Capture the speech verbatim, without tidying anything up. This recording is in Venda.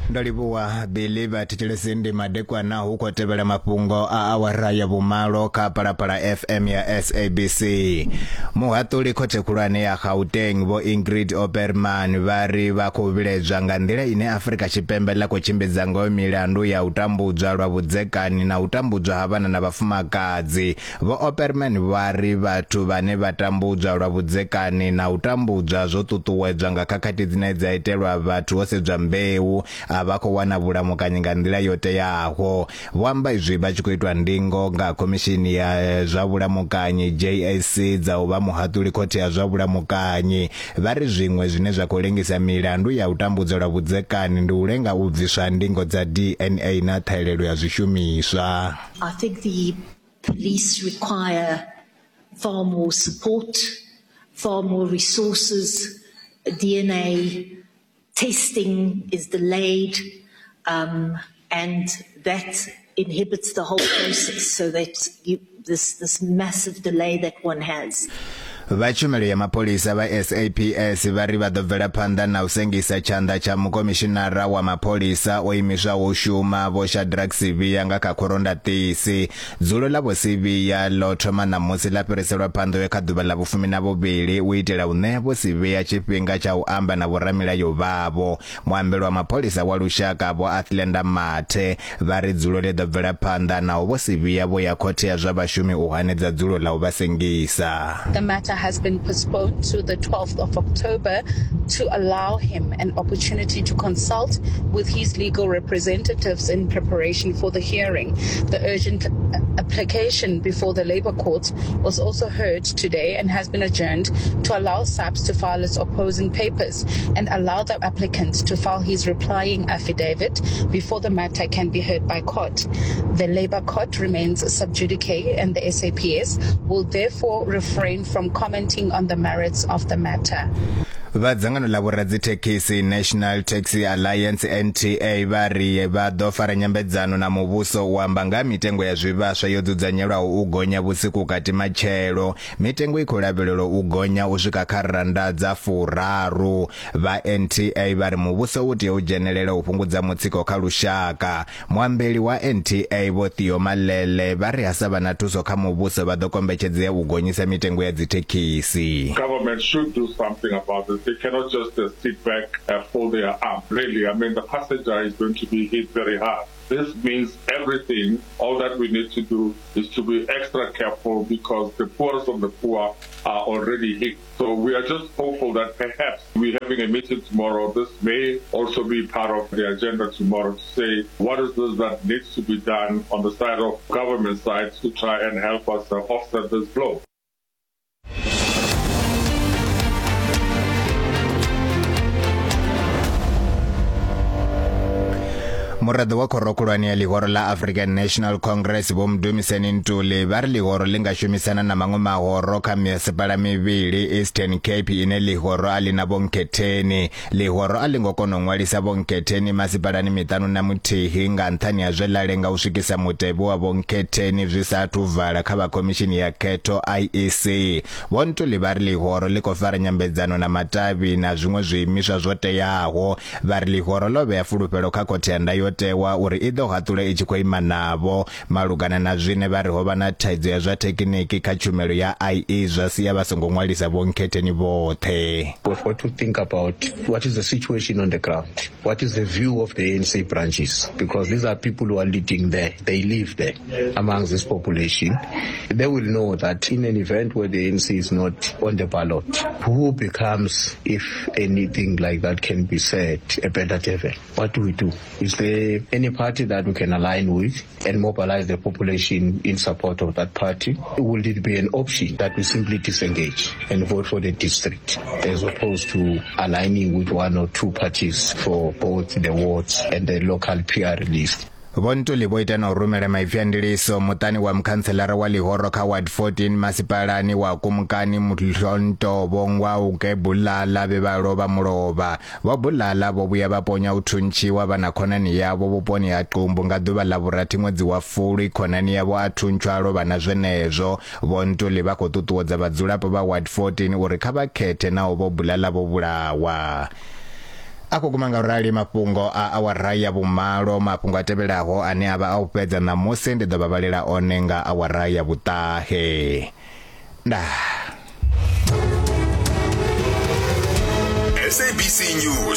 Ndo livhuwa Billy. Vhathetshelesi, ndi madekwana, hu khou tevhela mafhungo a awara ya vhumalo kha Phalaphala F M ya S A B C. Muhaṱuli khothe khulwane ya Gauteng Vho Ingrid Opperman vha ri vha khou vhiledzwa nga nḓila ine Afrika Tshipembe ḽa khou tshimbidza ngayo milandu ya u tambudzwa lwa vhudzekani na u tambudzwa ha vhana na vhafumakadzi. Vho Opperman vha ri vhathu vhane vha tambudzwa lwa vhudzekani na u tambudzwa zwo ṱuṱuwedzwa nga khakhathi dzine dza itelwa vhathu ho sedzwa mbeu a vha khou wana vhulamukanyi nga nḓila yo teaho. Vho amba izwi vha tshi khou itwa ndingo nga khomishini ya zwa vhulamukanyi J A C dza u vha muhaṱuli khothe ya zwa vhulamukanyi. Vha ri zwiṅwe zwine zwa khou lengisa milandu ya u tambudzwa lwa vhudzekani ndi u lenga u bviswa ndingo dza D N A na ṱhahelelo ya zwishumiswa. I think the police require far more support, far more resources. D N A testing is delayed, um, and that inhibits the whole process, so that you, this, this massive delay that one has. Vha tshumelo ya mapholisa vha S A P S vha ri vha ḓo bvela phanḓa na u sengisa tshanḓa tsha mukomishinara wa mapholisa o imiswaho u shuma Vho Shadrack Sibiya nga kha khorondaṱisi. Dzulo ḽa Vho Sibiya ḽo thoma ṋamusi ḽa fhiriselwa phanḓa kha ḓuvha ḽa vhufumi na vhuvhili u itela u ṋea Vho Sibiya tshifhinga tsha u amba na vhoramilayo vhavho. Muambeli wa mapholisa wa lushaka Vho Athlenda Mathe vha ri dzulo ḽi ḓo bvela phanḓa naho Vho Sibiya vho ya khothe ya zwa vhashumi u hanedza dzulo ḽa u vha sengisa. The matter has been postponed to the twelfth of October to allow him an opportunity to consult with his legal representatives in preparation for the hearing. The urgent application before the Labour Court was also heard today and has been adjourned to allow S A P S to file its opposing papers and allow the applicant to file his replying affidavit before the matter can be heard by court. The Labour Court remains sub judice and the S A P S will therefore refrain from commenting on the merits of the matter. Vha dzangano ḽa vhoradzithekhisi National Taxi Alliance N T A vha ri vha ḓo fara nyambedzano na muvhuso u amba nga mitengo ya zwivhaswa yo dzudzanyelwaho u gonya vhusiku kati matshelo. Mitengo i khou lavhelelwa u gonya u swika kha randa dza furaru. Vha N T A vha ri muvhuso u tea u dzhenelela u fhungudza mutsiko kha lushaka. Muambeli wa N T A Vho Theo Malele vha ri ha sa vha na thuso kha muvhuso vha ḓo kombetshedzea u gonyisa mitengo ya dzithekhisi. Government should do something about it. They cannot just uh, sit back and fold their arms. Really, I mean, the passenger is going to be hit very hard. This means everything. All that we need to do is to be extra careful because the poorest of the poor are already hit. So we are just hopeful that perhaps we're having a meeting tomorrow. This may also be part of the agenda tomorrow to say what is this that needs to be done on the side of government side to try and help us uh, offset this blow. Muraḓo wa khoro khulwane ya ḽihoro ḽa African National Congress Vho Mdumiseni Ntuli vha ri ḽihoro ḽi nga shumisana na maṅwe mahoro kha mimasipala mivhili Eastern Cape ine ḽihoro a ḽi na vhonkhetheni. Ḽihoro a ḽi ngo kona u ṅwalisa vhonkhetheni masipalani miṱanu na muthihi nga nṱhani ha zwe ḽa lenga u swikisa mutevhe wa vhonkhetheni zwi sa athu vala kha vha khomishini ya khetho I E C. Vho Ntuli vha ri ḽihoro ḽi khou fara nyambedzano na matavhi na zwiṅwe zwiimiswa zwo teaho. Vha ri ḽihoro ḽo vhea fulufhelo kha khothe ya ndayo tewa uri i ḓo haṱula i tshi khou ima navho malugana na zwine vha ri ho vha na thaidzo ya zwa thekiniki kha tshumelo ya I E zwa sia vha songo ṅwalisa vhonkhetheni vhoṱhe. We've got to think about what is the situation on the ground, what is the view of the A N C branches, because these are people who are leading there, they live there amongst this population. They will know that in an event where the A N C is not on the ballot, who becomes, if anything like that can be said, a better devil? What do we do? Is there any party that we can align with and mobilize the population in support of that party? Will it be an option that we simply disengage and vote for the district as opposed to aligning with one or two parties for both the wards and the local P R list? Vho Ntuli vho ita na u rumela maipfi a ndiliso muṱani wa mukhantselara wa ḽihoro kha Ward fourteen masipalani wa Kumkani Mhlonto Vho Ngwauke Bulala vhe vha lovha mulovha. Vho Bulala vho vhuya vha ponya u thuntshiwa vha na khonani yavho vhuponi ha Qumbu nga ḓuvha ḽa vhurathi ṅwedzi wa Fulwi. Khonani yavho a thuntshwa a lovha na zwenezwo. Vho Ntuli vha khou ṱuṱuwedza vhadzulapo vha Ward fourteen uri kha vha khethe naho Vho Bulala vho vhulawa. A khou guma nga rali mafhungo a awara ya vhumalo. Mafhungo a tevhelaho ane a vha a u fhedza ṋamusi ndi ḓo vha vhalela one nga awara ya vhuṱahe. Ndaa. S A B C News.